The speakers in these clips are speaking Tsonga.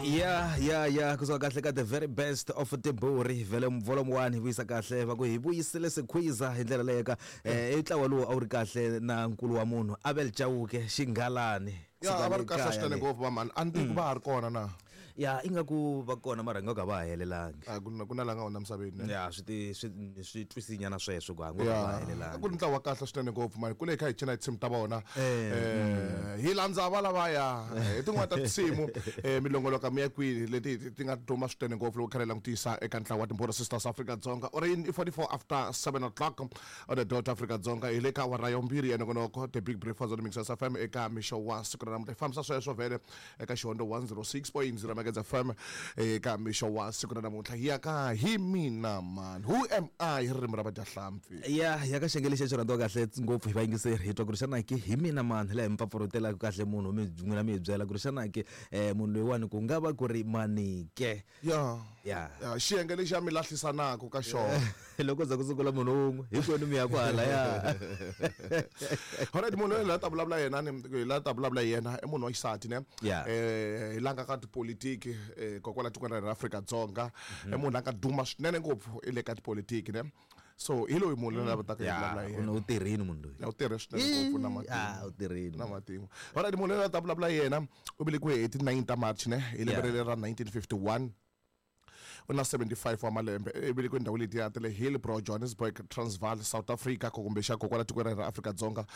Ya kusuka kahle ka the very best of tiburi vele volume 1 hi vuyisa kahle va ku hi vuyisile sikhwiza hi ndlela leyo ka i ntlawa lowu a wu ri kahle na nkulu wa munhu Abel Chauke Xinghalani. Ya, a va ri kahle swinene ngopfu va mhani. A ni tivi ku va ha ri kona na. Ya, ingaku va kona mara ingaku a va ha helelangi. A ku na ku na la nga hundza misaveni ne? Ya, swi ti swi swi twisinyana sweswo ku ingaku a va ha helelangi. A ku ri ntlawa wa kahle swinene ngopfu mhani. Kule hi kha hi cina hi tinsimu ta vona. Hi landza valavaya hi tin'wana ta tinsimu milongoloka mi ya kwini leti ti nga duma swinene ngopfu loko kha hi langutisa eka ntlawa wa Timbhoni Sisters Afrika-Dzonga. U ri yini? I 44 after 7 o'clock on the dot Afrika-Dzonga hi le ka awara ya vumbirhi ya nongonoko The Big Breakfast on Mixers FM eka mixo wa siku ra namuntlha. Hi fambisa sweswo vhele eka xihondo 106.0 Mageza FM eka mixo wa siku ra namuntlha. Hi ya ka hi mina mani, who am I hi ririmi ra vadyahlampfi. Ya ya ka xiyenge lexi xi rhandziwa kahle ngopfu hi vayingiseri hi twa ku ri xana ke hi mina mani laha hi mi pfapfarhutelaka kahle munhu mi n'wina mi hi byela ku ri xana ke munhu loyiwani ku nga va ku ri mani ke. Ya. Ya. Ya, xiyenge lexi ya mi lahlisanaka ka xona. Loko za ku sungula munhu wun'we hinkwenu mi ya kwahalaya. Alright, munhu loyi la ta vulavula yena ni la ta vulavula yena i munhu wa xisati ne. Yeah. Hi la nga ka tipolitiki kokwala tikweni ra hina ra Afrika-Dzonga. I munhu la nga duma swinene ngopfu i le ka tipolitiki ne. So hi loyi munhu loyi la taka hi vulavula hi yena. U tirhini munhu loyi. Ya, u tirhe swinene ngopfu na matimu. Ah, u tirhini. Na matimu. Alright, munhu loyi la ta vulavula yena u velekiwe hi ti 9 ta March ne hi lembe ra 1951. U na 75 wa malembe. I velekiwe ndhawu letiya ta le Hillbrow, Johannesburg, Transvaal, South Africa, kumbe xa kokwala tikweni ra Afrika-Dzonga.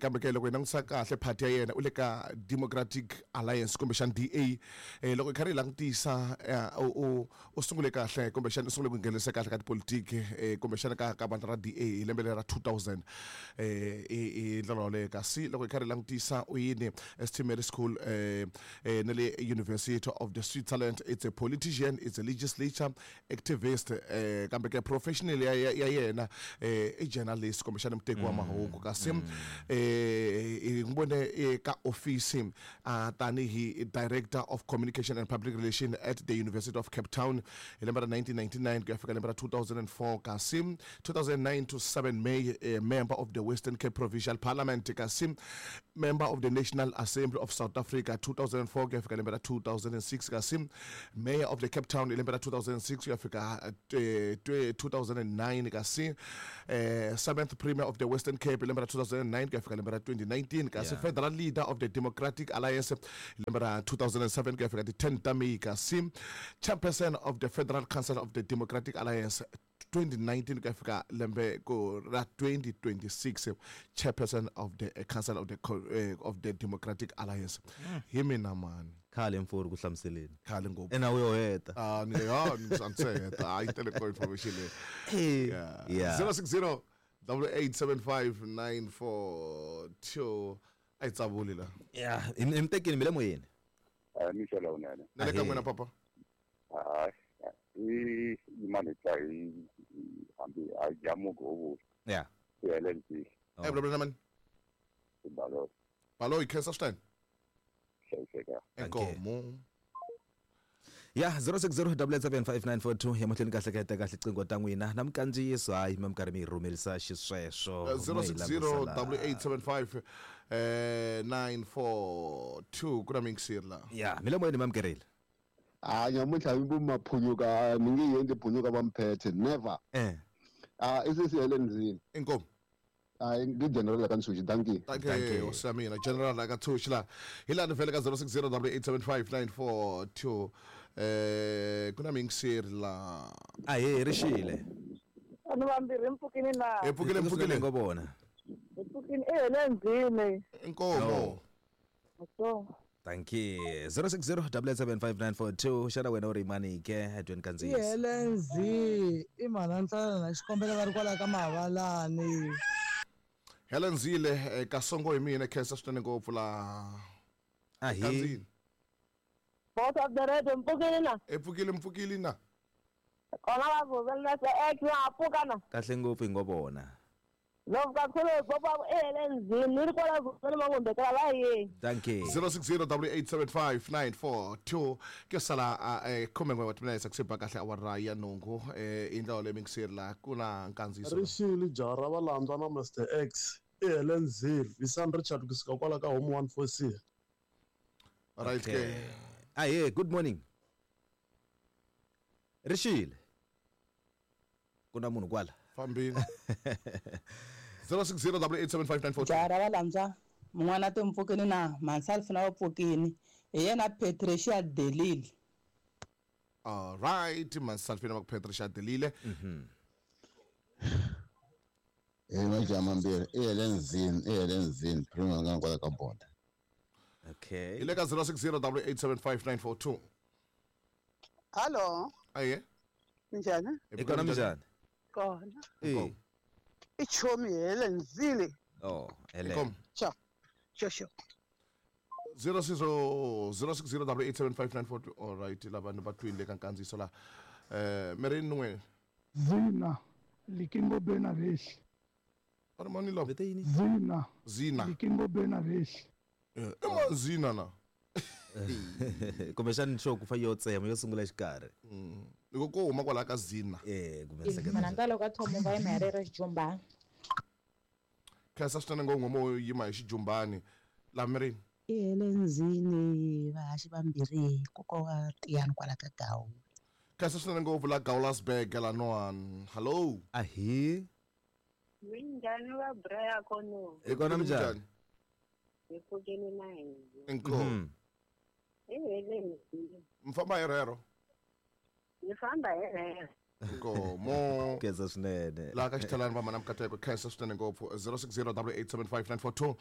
Kambe ke loko hi langutisa kahle party ya yena u le ka Democratic Alliance kumbexana DA. Loko hi karhi hi langutisa u sungule kahle kumbexana u sungule ku nghenelisa kahle ka tipolitiki kumbexana ka vandla ra DA hi lembe ra 2000 hi ndlela yoleyo. Kasi loko hi karhi hi langutisa u yini St Mary School na le University of the Switzerland. It's a politician, it's a legislature activist, kambe ke professional ya yena i journalist kumbexana muteki wa mahungu. Kasi hi n'wi vone ka office tanihi Director of Communication and Public Relation at the University of Cape Town hi lembe ra 1999 ku ya fika lembe ra 2004. Kasi 2009 to 7 May member of the Western Cape Provincial Parliament. Kasi member of the National Assembly of South Africa 2004 ku ya fika lembe ra 2006. Kasi Mayor of the Cape Town hi lembe ra 2006 ku ya fika 2009. Kasi 7th Premier of the Western Cape hi lembe ra 2009 ku ya fika lembe ra 2019. Kasi Federal Leader of the Democratic Alliance hi lembe ra 2007 ku ya fika ti 10 ta May. Kasi Chairperson of the Federal Council of the Democratic Alliance 2019 ku ya fika lembe ku ra 2026, Chairperson of the Council of the of the Democratic Alliance. Hi mina mani. Khale mfori ku hlamuseleni. Khale ngopfu. Ena u yo heta. Ah, ni ya ni se heta. A yi tele ko information leyi. Yeah. Yeah. 060 8875 942 a yi tsavuli la. Yeah, hi mi tekini mi le moyeni. A mixo lowunene. Na le ka n'wina papa. Hayi, i yimani tla hi hambi a jamuko ho vula. Yeah. I Helen Zille. Eh, vulavula na mani? I Baloyi. Baloyi, khensa swinene. Hlayiseka. Inkomu. Ya 060 ya mahlweni kahle ka heta kahle qingho ta n'wina na mikandziyiso hayi mi karhi mi yi rhumelisa xisweswo. 060 8875 942 ku na mingiseri la. Ya mi le moyeni mamukerile. A nyamuntlha mi vo maphunyuka mi nge yi endli phunyuka va mphethe never. A i sesi Helen Zille. Inkomu. A ngi general ka Ntshuxi, dankie. Dankie, hosi ya mina general ka Ntshuxi la. Hi laha ni vhele ka 060 8875 942 ku na mingiseri la. A hi ri xile. Vanhu vambirhi mpfukini na. Hi pfukile, mpfukile. Ngo vona. Hi pfukini i Helen Zille. Inkomu. So. Thank you. 060 875 xana wena u ri mani ke dweni kandziyiso? I Helen Zille, i mhana Ntlala na xikombelo va ri kwala ka Mavalani. Helen Zille, Kasongo hi mina, khensa swinene ngopfu la. A hi. Kandziyini. Boss of the radio, mpfukile na? E pfukile, mpfukile na. Kona va vuvela se ex wa pfuka na. Kahle ngopfu hi ngo vona. Loko kakhulu bopa e Helen Zille, ni ri kwala vuvela mangombekela va yini. Thank you. 060 8875 942 ke sala khumen'we wa timinetse ku siba kahle awara ya nhungu i ndlela leyi mingiseri la ku na nkandziyiso. Rixile jaha ra valandzwa na Mr X i Helen Zille, Visan Richard kusuka kwala ka Home 14C. Right ke. Ahe, good morning. Rixile. Ku na munhu kwala. Fambini. 060887594. Jaha ra valandzwa mun'wana timpfukini na mhansalfina wa pfukini hi yena Patricia Delile. All right, Mansalfina va ku Patricia Delile. Hi majaha mambirhi i Helen Zini, i Helen Zini, prima nga kwala ka boda. Okay. Hi le ka 060887594. Hallo, Aye. minjhani? Hi kona, minjhani? Kona. Eh. I chomi Helen Zille. Oh, Helen. Inkomu. Cha. Sho sho. 060887594. All right, lava ni va twile ka nkandziyiso la. Meri n'we. Zina Likingo Benaveshi. Ari mani lava? Zina Zina. Likingo Benaveshi. I ma Zina na. Kumbexani xo ku fa yo tsema yo sungula exikarhi. Loko ko huma kwalaho ka Zina. Kumbe nhleketa. Mina ntalo ka thomo va yima hi rero xijumbani. Khensa swinene ngopfu mo yima hi xijumbani. La mirini. I Helen Zini vahaxi vambirhi nkoka wa Tiyani kwala ka Gawu. Khensa swinene ngopfu la Gaulasburg la Noan. Hello. Ahi. Minjhani va Braya kono? Hi kona, minjhani? Hi pfukini na hina. Inkomu. I Helen Zille. Mi famba hi rero. Hi famba hi rero. Inkomo. Khensa swinene. Laha ka xithalani va mana mikateko khensa swinene ngopfu 060887594.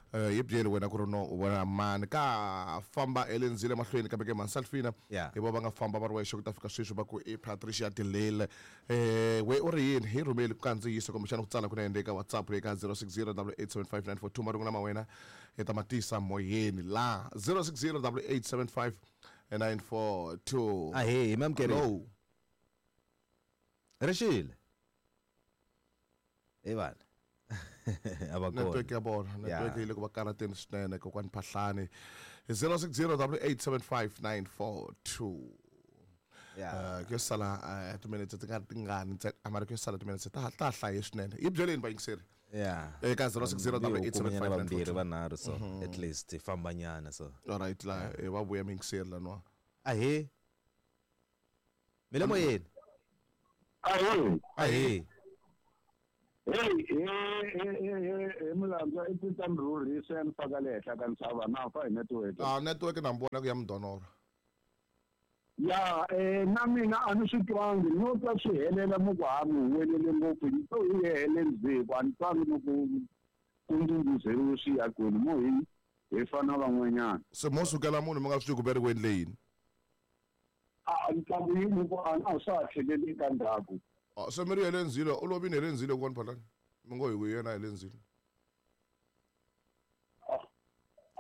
Yi byeli wena ku ri no u vona mani ka famba elenzile mahlweni kambe ke Mansalfina hi vo va nga famba va ri wexe ku ta fika sweswi va ku i Patricia Delile. We u ri yini hi rhumeli ku kandziyisa kumbexana ku tsala kunene eka WhatsApp eka 060887594 marungu lama wena hi ta matisa moyeni la 060887594. Ahe, hi mamukeri. Hello. Rixile. Hi vana. A va kona. Network ya vona, network yi le ku va karateni swinene kokwani Phahlani. 060887594. Ku sala timinetse ti nga ri tingani ntsena, a mara ku sala timinetse ta ta hlaye swinene. Yi byeleni vayingiseri. Eka 060887594. Vambirhi vanharhu so at least hi fambanyana so. All right, la va vuya muyingiseri laniwa. Ahe. Mi le moyeni. Ahe. Ahe. Hey, hey, mulandza i tita mrhurhisa ya ni faka le henhla ka ntshava na fa hi network. Ah, network na mi vona ku ya mudonora. Ya, na mina a ni swi twangi no twa swi helela mo ku ha mi huwelele ngopfu ni to hi hele ndzheku a ni twangi no ku ku ndhundhuzeriwe swi ya kwini mo hi fana van'wanyana. Se mo sukela munhu mi nga swi tivi ku ve ri ku endle yini? A ntlangu yi ku a na swa ha tlheleli ka ndzhaku. Se mi ri Helen Zille u lovini Helen Zille kokwani Phahlani? Mi ngo hi ku yena Helen Zille.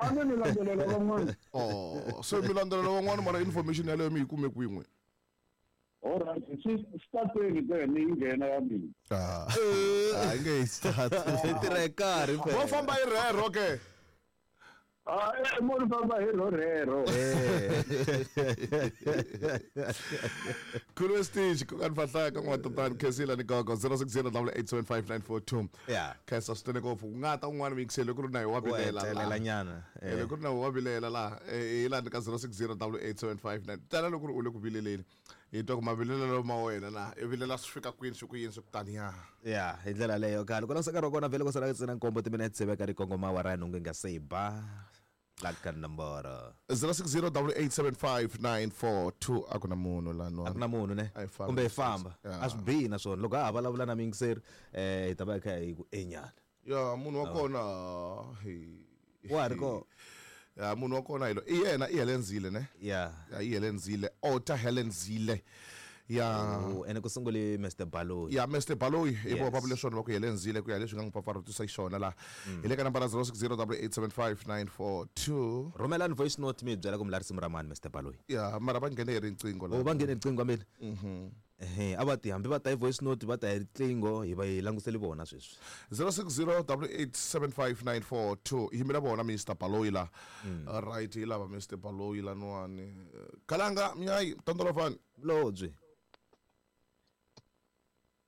A ni landzelela van'wana. Oh, se mi landzelela van'wana mara information yaleyo mi yi kume kwin'we. All right, swi tateni ke ni yi nghena ya mina. A yi nge yi start. Yi tirha hi nkarhi phela. Mo famba hi rero ke. Mo ni famba hi ro rero. Khulwe stage kokwani Phahlani ka n'wa tatani Khensile ni gogo 060887594. Khensa swinene ngopfu ku nga ta un'wana muyingiseri ku ri na hi wa vilela la. Wa nyana. Loko ku ri na wa vilela la hi lani ka 060887594. Tala loko u le ku vileleni hi twa ku mavilelelo ma wena na i vilela swi fika kwini swi ku yini swi ku taniya. Ya, hi ndlela leyo khale ku langusa nkarhi wa kona vhele ku sala ntsena nkombo timinetse veka ri kongoma awara ya nhungu yi nga se yi ba la ka nomboro 060887594 a ku na munhu la a ku na munhu ne kumbe hi famba a swi bihi naswona loko ha ha vulavula na muyingiseri hi ta va hi kha hi ku enyana. Ya munhu wa kona wa ha ri kona. Ya munhu wa kona hi lo i yena i Helen Zille ne. Ya i Helen Zille Ota Helen Zille. Ya ene ku sungule Mr Baloyi. Ya Mr Baloyi hi vo va vule swona va ku Helen Zille ku ya leswi nga n'wi pfapfarhutisa xiswona la. Hi le ka nambara 060887594. Rhumelani voice note mi byela ku mi la risimu ra mani Mr Baloyi. Ya mara va nghene hi riqingho la. Oh, va nghene hi riqingho ameni. A va ti hambi va ta hi voice note va ta hi riqingho hi va hi languseli vona sweswi. 060887594 yimela vona Mr Baloyi la. All right, hi lava Mr Baloyi la nwani. Kalanga mnyayi tondolovani. Lobyi.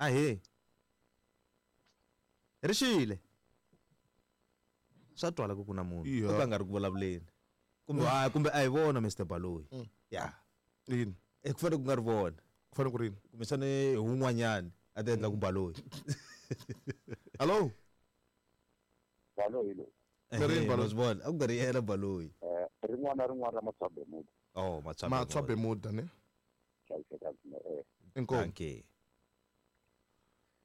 Ahe. Rixile. Swa twala ku ku na munhu. O ka nga ri ku vulavuleni. Kumbe a kumbe a hi vona Mr Baloyi. Ya. Yini? Ku fanele ku nga ri vona. Ku fanele ku ri yini? Kumbexana hi wun'wanyani a ti endla ku Baloyi. Hello. Baloyi loyi. Ri rini Baloyi? Wa swi vona? A ku nga ri yena Baloyi. Rin'wana na rin'wana ra Matswa Bermuda. Oh, Matswa Matswa Bermuda ne? Hlayiseka swinene. Inkomu. Dankie.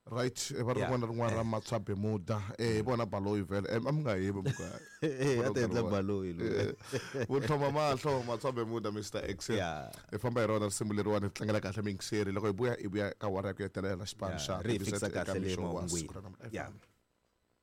Right, va Yeah. rin'wana na rin'wana ra Matswa Bermuda. Hi vona Baloyi vhele. A mi nga hembi muka. A ti endla Baloyi loyi. Vutlhoma mahlo Matswa Bermuda Mr X. Yeah. Hi famba hi rona risimu leriwani hi tlangela kahle miyingiseri loko hi vuya hi vuya ka awara ya ku hetelela xipano Yeah, xa ri hi TVZ fikisa eka kahle le mixo wa mahungwini. siku ra namuntlha. Yeah.